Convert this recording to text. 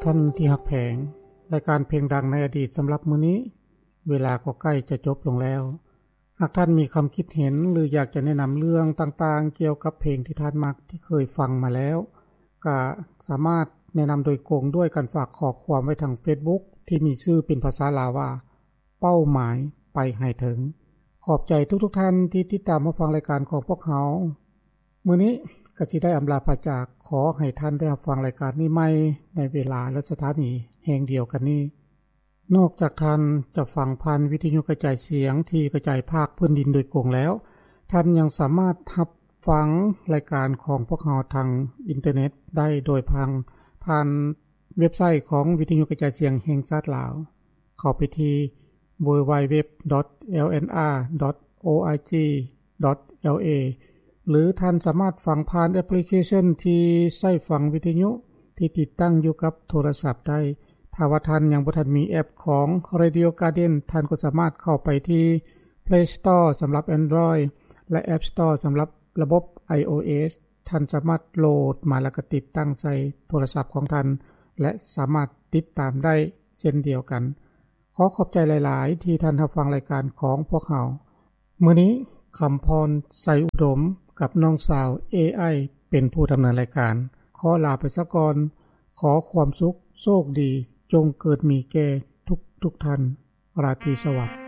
ທ່ານທີ່ຮັກແພງ, ລາຍການເພງດັງໃນອະດີດສຳລັບມື້ນີ້ ເວລາກໍໃກ້ຈະຈົບລົງແລ້ວ. ຫາກທ່ານມີຄຳຄິດເຫັນ ຫຼື ຢາກຈະແນະນຳເລື່ອງຕ່າງໆ ກ່ຽວກັບເພງທີ່ທ່ານມັກ ທີ່ເຄີຍຟັງມາແລ້ວ, ກະສາມາດແນະນຳໂດຍກົງດ້ວຍການຝາກຂໍ້ຄວາມໄວ້ທາງ Facebook ທີ່ມີຊື່ເປັນພາສາລາວວ່າ ເປົ້າໝາຍໄປໃຫ້ເຖິງ. ຂອບໃຈທຸກໆທ່ານທີ່ຕິດຕາມຮັບຟັງລາຍການຂອງພວກເຮົາ. ມື້ນີ້ກະຊິໄດ້ອຳລາພາຈາກ, ຂໍໃຫ້ທ່ານໄດ້ຮັບຟັງລາຍການນີ້ໃໝ່ໃນເວລາ ແລະ ສະຖານີແຫ່ງດຽວກັນນີ້. ນອກຈາກທ່ານຈະຟັງຜ່ານວິທະຍຸກະຈາຍສຽງທີ່ກະຈາຍພາກພື້ນດິນໂດຍກົງແລ້ວ, ທ່ານຍັງສາມາດຮັບຟັງລາຍການຂອງພວກເຮົາທາງອິນເຕີເນັດໄດ້ໂດຍຜ່ານ ຜ່ານເວັບໄຊຂອງວິທະຍຸກະຈາຍສຽງແຫ່ງຊາດລາວ. ເຂົ້າໄປທີ່ www.lnr.org.la ຫຼື ທ່ານສາມາດຟັງຜ່ານແອັບພລິເຄຊັນທີ່ໃຊ້ຟັງວິທະຍຸທີ່ຕິດຕັ້ງຢູ່ກັບໂທລະສັບໄດ້. ຖ້າວ່າທ່ານຍັງບໍ່ທັນມີແອັບຂອງ Radio Garden, ທ່ານກໍສາມາດເຂົ້າໄປທີ່ Play Store ສຳລັບ Android ແລະ App Store ສຳລັບລະບົບ iOS. ທ່ານສາມາດໂຫຼດມາ ແລ້ວກໍຕິດຕັ້ງໃສ່ໂທລະສັບຂອງທ່ານ ແລະ ສາມາດຕິດຕາມໄດ້ເຊັ່ນດຽວກັນ. ຂໍຂອບໃຈຫຼາຍໆ ທີ່ທ່ານຮັບຟັງລາຍການຂອງພວກເຮົາ. ມື້ນີ້ ຄຳພອນ ໄຊອຸດົມ ກັບນ້ອງສາວ ເອໄອ ເປັນຜູ້ດຳເນີນລາຍການ. ຂໍລາໄປຊະກ່ອນ. ຂໍຄວາມສຸກ, ໂຊກດີ ຈົ່ງເກີດມີແກ່ທຸກໆທ່ານ. ລາຕີສະຫວັດ.